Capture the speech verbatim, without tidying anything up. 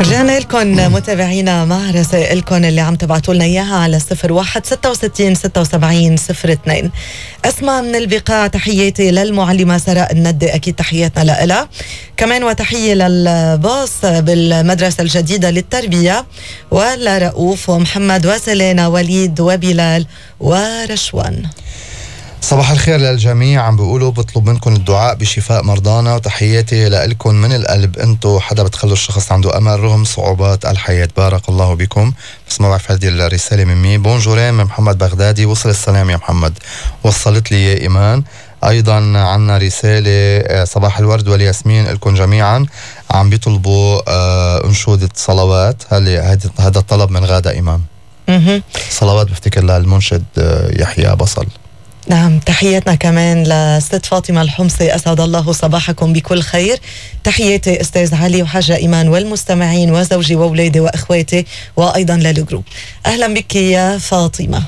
رجعنا لكم متابعينا مع رسائلكم اللي عم تبعتوا لنا اياها على صفر واحد ستة وستين ستة وسبعين صفر اثنين. اسماء من البقاع، تحياتي للمعلمة سراء الندي، اكيد تحياتنا لها كمان، وتحية للباص بالمدرسة الجديدة للتربية، ولرؤوف ومحمد وسلينا وليد وبلال ورشوان. صباح الخير للجميع. عم بيقولوا بطلب منكم الدعاء بشفاء مرضانا، وتحياتي لكم من القلب. انتو حدا بتخلوا الشخص عنده امل رغم صعوبات الحياة. بارك الله بكم. بس ما بعرف هذه الرسالة من مين. بونجورين من محمد بغدادي. وصل السلام يا محمد. وصلت لي يا ايمان. ايضا عنا رسالة صباح الورد والياسمين لكم جميعا. عم بيطلبوا آه انشودة صلوات. هذا الطلب من غادة امام. صلوات بفتكر للمنشد آه يحيى بصل. نعم، تحياتنا كمان لست فاطمة الحمصي، أسعد الله صباحكم بكل خير. تحياتي أستاذ علي وحاجة إيمان والمستمعين وزوجي وأولادي وأخواتي، وأيضا للجروب. أهلا بك يا فاطمة.